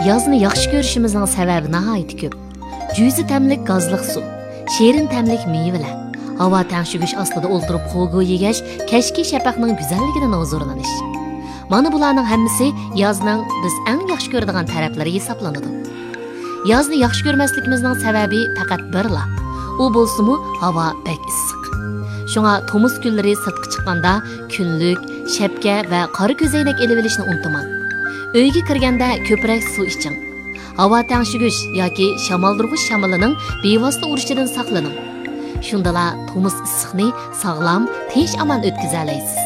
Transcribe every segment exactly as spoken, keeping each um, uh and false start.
يازنى ياخشى كۆرۈشىمىزنىڭ سەۋەبى ناھايىتى كۆپ. جۈزە تەملىك گازلىق سۇ، شېرىن تەملىك مېۋىلەر، ھاۋا تەڭشىگۈچ ئاستىدا ئولتۇرۇپ خوگو يېگەچ كەچكى شەپەقنىڭ گۈزەللىكىدىن ھۇزۇرلىنىش. مانا بۇلارنىڭ ھەممىسى يازنىڭ بىز ئەڭ ياخشى كۆرىدىغان تەرەپلىرى ھېسابلىنىدۇ. يازنى ياخشى كۆرمەسلىكىمىزنىڭ سەۋەبى پەقەت بىرلا. ئۇ بولسىمۇ ھاۋا بەك ئىسسىق. شۇڭا تومۇز كۈنلىرى سىرتقا چىققاندا كۈنلۈك، شەپكە ۋە قارا كۆزەينەك ئېلىۋېلىشنى ئۇنتۇماڭ. ئۆيگە كىرگەندە كۆپرەك سۇ ئىچىڭ. ھاۋا تەڭشىگۈچ ياكى شامالدۇرغۇچ شامىلىنىڭ بىۋاسىتە ئۇرۇشىدىن ساقلىنىڭ. شۇندىلا تومۇز ئىسسىقنى ساغلام، تىنچ-ئامان ئۆتكۈزەلەيسىز.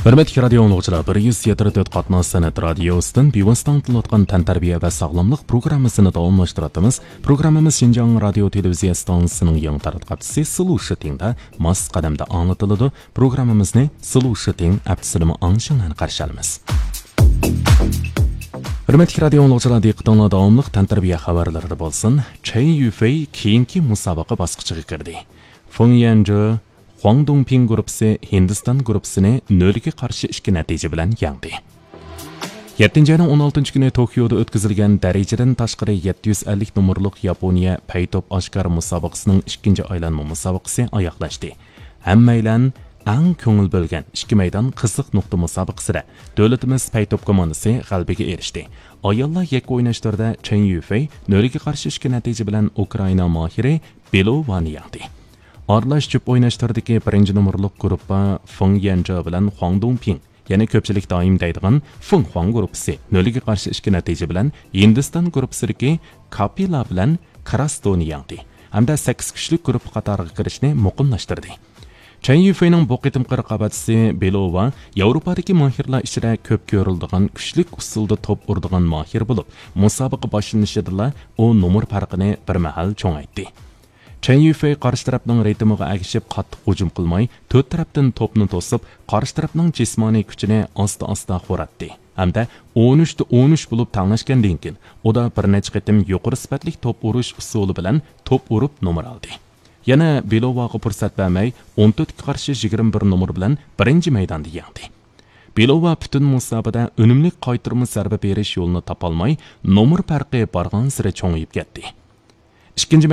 ھۆرمەتلىك رادىيو ئاڭلىغۇچىلار، بىر يۈز يەتتە تۆت قاتناش سەنئەت رادىيوسىدىن بىۋاسىتە ئاڭلىتىلىۋاتقان تەنتەربىيە ۋە ساغلاملىق پروگراممىسىنى داۋاملاشتۇرۇۋاتىمىز. پروگراممىمىز شىنجاڭ رادىيو تېلېۋىزىيە ئىستانسىسىنىڭ يېڭى تاراتقۇ سلوشىتىڭدا ماس قەدەمدە ئاڭلىتىلىدۇ. پروگراممىمىزنى سلوشىتىڭ ئەپتىسىدىمۇ ئاڭلىشىڭلارنى قارشى ئالىمىز. ھۆرمەتلىك رادىيو ئاڭلىغۇچىلار، دىققىتىڭلار داۋاملىق تەنتەربىيە خەۋەرلىرىدە بولسۇن. چەي يۈفېي كېيىنكى مۇسابىقە باسقۇچىغا كىردى. فېڭ يەنجې، خۇاڭ دۇڭپىڭ گۇرۇپپىسى ھىندىستان گۇرۇپپىسىنى نۆلگە قارشى ئىككى نەتىجە بىلەن يەڭدى. يەتتىنچى ئاينىڭ ئون ئالتىنچى كۈنى توكيودا ئۆتكۈزۈلگەن دەرىجىدىن تاشقىرى يەتتە يۈز ئەللىك نومۇرلۇق ياپونىيە پەي توپ ئاشكار مۇسابىقىسىنىڭ ئىككىنچى ئايلانما مۇسابىقىسى ئاياغلاشتى. ھەممەيلەن ئەڭ كۆڭۈل بۆلگەن ئىككى مەيدان قىزىق نۇقتا مۇسابىقىسىدە دۆلىتىمىز پەي توپ كوماندىسى غەلىبىگە ئېرىشتى. ئاياللار يەككە ئويناش تۈرىدە چېن يۈفېي نۆلگە قارشى ئىككى نەتىجە بىلەن ئۇكرائىنا ماھىرى بېلوۋانى يەڭدى. ئارىلاش جۈپ ئويناش تۈرىدىكى بىرىنچى نومۇرلۇق گۇرۇپپا فېڭ يەنجې بىلەن خۇاڭ دۇڭپىڭ، يەنى كۆپچىلىك دائىم دەيدىغان فېڭ خۇاڭ گۇرۇپپىسى نۆلگە قارشى ئىككى نەتىجە بىلەن ھىندىستان گۇرۇپپىسىدىكى كاپىلا بىلەن كراستونى يەڭدى ھەمدە سەككىز كۈچلۈك گۇرۇپپا قاتارىغا كىرىشنى مۇقىملاشتۇردى. چەن يۈفېينىڭ بۇ قېتىمقى رىقابەتچىسى بېلوۋا ياۋروپادىكى ماھىرلار ئىچىدە كۆپ كۆرۈلىدىغان كۈچلۈك ئۇسۇلدا توپ ئۇرىدىغان ماھىر بولۇپ، مۇسابىقە باشلىنىشىدىلا ئۇ نومۇر پەرقىنى بىر مەھەل چوڭايتتى. چەن يۈفېي قارشى تەرەپنىڭ رىتىمىغا ئەگىشىپ قاتتىق ھۇجۇم قىلماي، تۆت تەرەپتىن توپنى توسۇپ، قارشى تەرەپنىڭ جىسمانىي كۈچىنى ئاستا-ئاستا خوراتتى ھەمدە ئون ئۈچتە ئون ئۈچ بولۇپ تەڭلەشكەندىن كېيىن، ئۇدا بىر نەچچە قېتىم يۇقىرى سۈپەتلىك توپ ئۇرۇش ئۇسۇلى بىلەن توپ ئۇرۇپ نومۇر ئالدى. يەنە بېلوۋاغا پۇرسەت بەرمەي، ئون تۆتكە قارشى يىگىرمە بىر نومۇر بىلەن بىرىنچى مەيداندا يەڭدى. بېلوۋا پۈتۈن مۇسابىقىدە ئۈنۈملۈك قايتۇرما زەربە بېرىش يولىنى تاپالماي، نومۇر پەرقى بارغانسېرى چوڭىيىپ كەتتى. ئىككىنچى